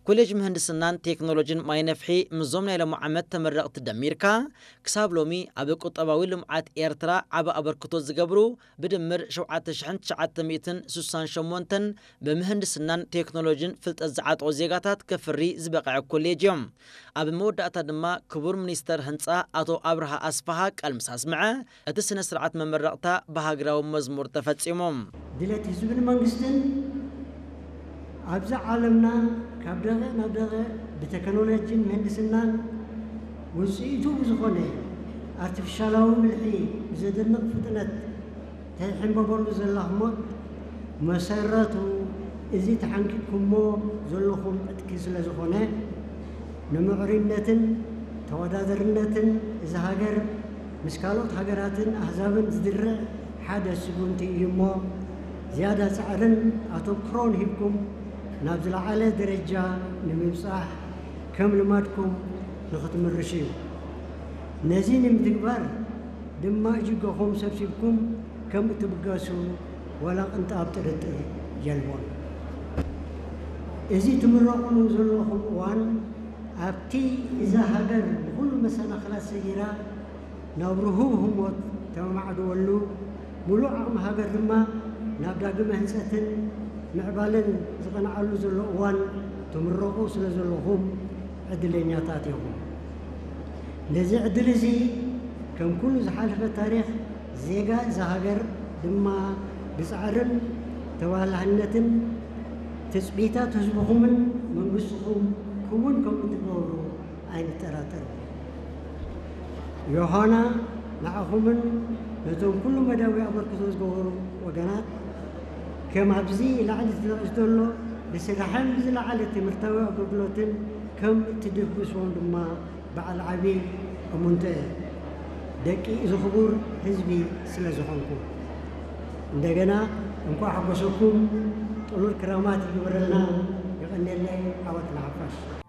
ኮሌጅ ምህንድስናን ቴክኖሎጂን ማይ ነፍሒ ምስዞም ናይ ሎሚ ዓመት ተመረቕቲ ደሚርካ ክሳብ ሎሚ ኣብ ቁጠባዊ ልምዓት ኤርትራ ዓቢ ኣበርክቶ ዝገብሩ ብድምር ሸውዓተ ሽሕን ትሽዓተ ሚእትን ስሳን ሸሞንተን ብምህንድስናን ቴክኖሎጂን ፍልጠት ዝዓጠቑ ዜጋታት ከፍሪ ዝበቕዐ ኮሌጅ እዮም። ኣብ መወዳእታ ድማ ክቡር ሚኒስተር ህንጻ ኣቶ ኣብርሃ ኣስፍሃ ቃል ምስ ኣስምዐ እቲ ስነ ስርዓት መመረቕታ ብሃገራዊ መዝሙር ተፈጺሙ። ድሌት ህዝብን መንግስትን ኣብዚ ዓለምና ካብ ደቂቕ ናብ ደቂቕ ብቴክኖሎጂን ምህንድስናን ውፅኢቱ ብዝኾነ ኣርቲፊሻላዊ ብልሒ ብዘደንቕ ፍጥነት ተይሕንበበሉ ዘላ ህሞት መሰረቱ እዚ ተሓንቂቕኩሞ ዘለኹም ዕጥቂ ስለ ዝኾነ ንምዕሩይነትን ተወዳደርነትን እዚ ሃገር ምስ ካልኦት ሃገራትን ኣህዛብን ዝድርዕ ሓደ ስጉምቲ እዩ እሞ ዝያዳ ፃዕርን ኣተኩሮን ሂብኩም ናብ ዝለዓለ ደረጃ ንምብፃሕ ከም ልማድኩም ንክትምርሹ እዩ። ነዚ ንምትግባር ድማ እጅገኹም ሰብሲብኩም ከም እትብገሱ ዋላ ቅንጣብ ጥርጥር የልቦን። እዚ ትምረቑሉ ዘለኹም እዋን ኣብቲ እዛ ሃገር ብኹሉ መሰናኽላት ሰጊራ ናብ ርሁብ ህሞት ተመማዕድወሉ፣ ሙሉእ ዓቕሚ ሃገር ድማ ናብ ዳግመ ህንፀትን ምዕባለን ዝቐንዓሉ ዘሎ እዋን ትምረቑ ስለ ዘለኹም ዕድለኛታት ኢኹም። ነዚ ዕድል እዚ ከም ኩሉ ዝሓለፈ ታሪኽ ዜጋ እዛ ሃገር ድማ ብፃዕርን ተባላህነትን ትፅቢታት ህዝብኹምን መንግስትኹም ክውን ከም እትገብሩ ኣይንጠራጠርን። ዮሃና ንዓኹምን ነቶም ኩሉ መዳዊ ኣበርክቶ ዝገበሩ ወገናት ከም ኣብዚ ላዕሊ ተጠቒሱ ዘሎ ብስራሕን ብዝለዓለ ትምህርታዊ ኣገልግሎትን ከም እትድግስዎም ድማ በዓል ዓቢ እሙንቶ እየ። ደቂ እዚ ክቡር ህዝቢ ስለ ዝኾንኩም እንደገና እንኳዕ ሓጎሰኩም ጥሉል ክራማት ይግበረልና። የቐንየለይ። ዓወት ንሓፋሽ።